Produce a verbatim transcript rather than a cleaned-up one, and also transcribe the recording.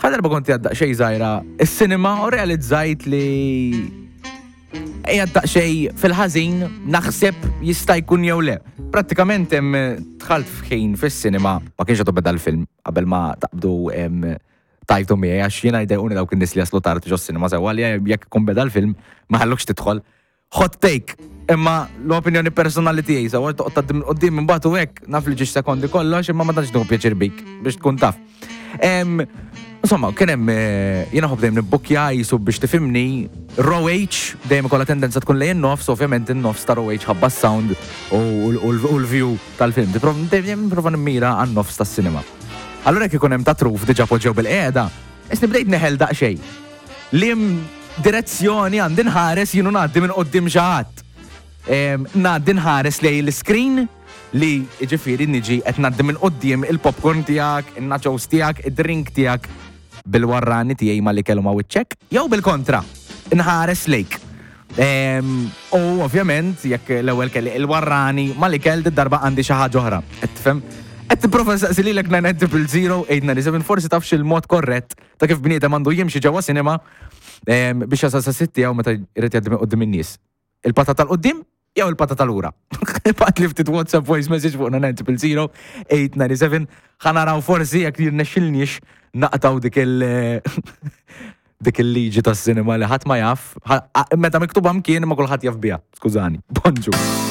Darba kont qiegħed daqsxejn żgħira is-cinema u realizzajt li qiegħed daqsxejn fil-ħażin, naħseb jista' jkun jew le. Prattikament hemm dħalt f'ħin fis-cinema, ma kienx għadu beda l-film, qabel ma taqbdu em, tajtu miegħi, għax jiena jdejquni dawk in-nies li jaslu tard ġo cinema, sewwa, li jekk ikun beda l-film ma ħallukx tidħol. Hot take, imma l-opinjoni personali tiegħi, sewwa, toqgħod tgħaddi minn quddiem imbagħad u hekk, naf li ġiex sekondi kollox, imma ma tantx nieħu pjaċir bik biex tkun taf. Em, Insomma, kien hemm eh, jiena ħobb dejjem nibbukkja jisu biex tifhimni row H dejjem ikollha tendenza tkun lejn nofs, ovvjament in-nofs ta' row H ħabba s-sound u u l-view tal-film. Tipprov- Dejjem nipprova nimmira għan-nofs tas-cinema. Allura jekk ikun hemm ta' truf diġà poġġew bil-qiegħda, isni bdejt neħel daqsxejn. Liem direzzjoni għandi nħares jienu ngħaddi minn quddiem xi ħadd? Em, Ngħaddi nħares lejn l-screen li ġifieri niġi qed ngħaddi minn quddiem il-popcorn tiegħek, il-nachos tiegħek, id-drink tiegħek bil-warrani tiegħi ma li kellu ma' wiċċek, jew bil-kontra, nħares lejk. Em, U ovvjament, jekk l-ewwel kelli il-warrani ma li kell, darba għandi xi ħaġa oħra. Qed tifhem? Qed tipprova nsaqsi lilek nine zero zero eight nine seven, forsi tafx il-mod korrett ta' kif bniedem għandu jimxi ġewwa cinema em, biex jasal sa sitt tiegħu meta jrid jgħaddi minn quddiem in-nies. Il-pata tal-quddiem jew il-pata tal-ura? Ibgħat li ftit WhatsApp voice message fuq nine zero zero eight nine seven, ħa naraw forsi jekk jirnexxilniex naqtaw dik il- dik il-liġi tas-sinema li ħadd ma jaf, ħa- meta miktuba mkien ma kulħadd jaf biha. Skużani. Bonġu.